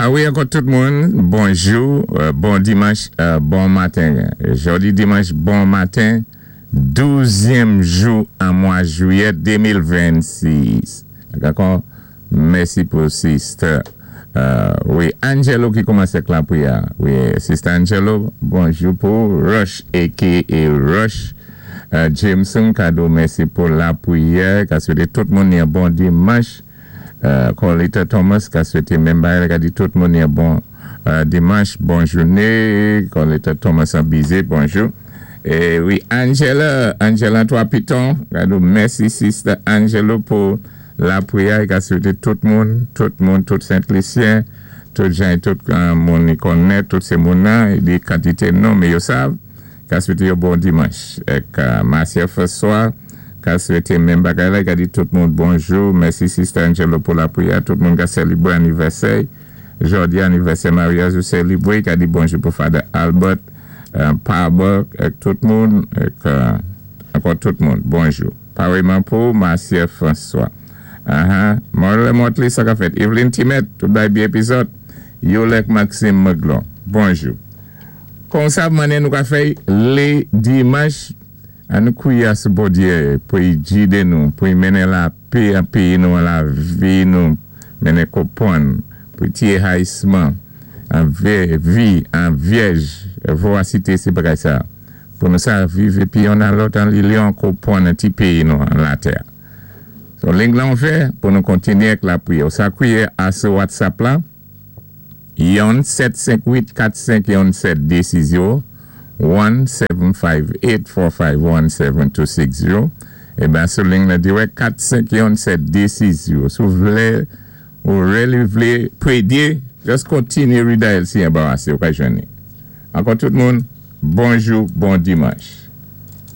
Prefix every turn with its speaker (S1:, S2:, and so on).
S1: Wi, ankò tout moun, bonjou, bon dimanch, bon maten. Jòdi dimanch, bon maten, 12èm jou an mwa jwiyè 2026. Dakò, mèsi pou sister. Wi, Angelo ki kòmansé ak lapriyè. Wi, sister Angelo, bonjou pou Rush, aka Rush. Jameson kado, mèsi pou lapriyè. Ka swété tout moun yon bon dimanch. Corlita Thomas ka swété menm bagay, ka di tout moun yon bon dimanch, bon jouné. Corlita Thomas an bize, bonjou. É wi, Angela, Angela Trois Piton, kado, mèsi sister Angelo pou lapriyè, ka swété tout moun, tout moun, tout Sent Lisyen, tout jan tout moun i konnèt, tout sé moun nan, di kantité non, mé yo sav, ka swété yo bon dimanch. Ek Marcia François, ka swété menm bagay la, ka di tout moun bonjou, mèsi sister Angelo pou lapriyè, tout moun ka sélébré anivèsè, jòdi anivèsè maryaj ou sélébré, ka di bonjou pou Father Albert, Pabok, ek tout moun, ek ankò tout moun, bonjou. Paréyman pou Marcia François. Aha, Morle Motley, sa ka fèt. Evelyn Timet, tout bay bi épizòd. Yolek Maxime Meglon, bonjou. Kon sa manen nou ka fè lé dimanch, an nou kwiyé sou Bondyé pou i gidé nou, pou i mennen lapè an péyi nou, an lavi nou, mennen konpwann, pou i tiyé hayisman, an vi, an vyèj, vorasité sé bagay sa. Pou nou sa viv épi youn a lòt an linyon konpwann an ti péyi nou an latè. So ling lan ouvè pou nou kontinyé ak lapriyè. Ou sa kwiyé a sou WhatsApp la, 1 758 451 7 260, 1 758 451 7260. Eben sou ling la dirèk 451 7 260. Si ou vlé ou really vlé prédé, just kontinyé redial si anbarasé ou ka jwenn. Ankò tout moun, bonjou, bon dimanch.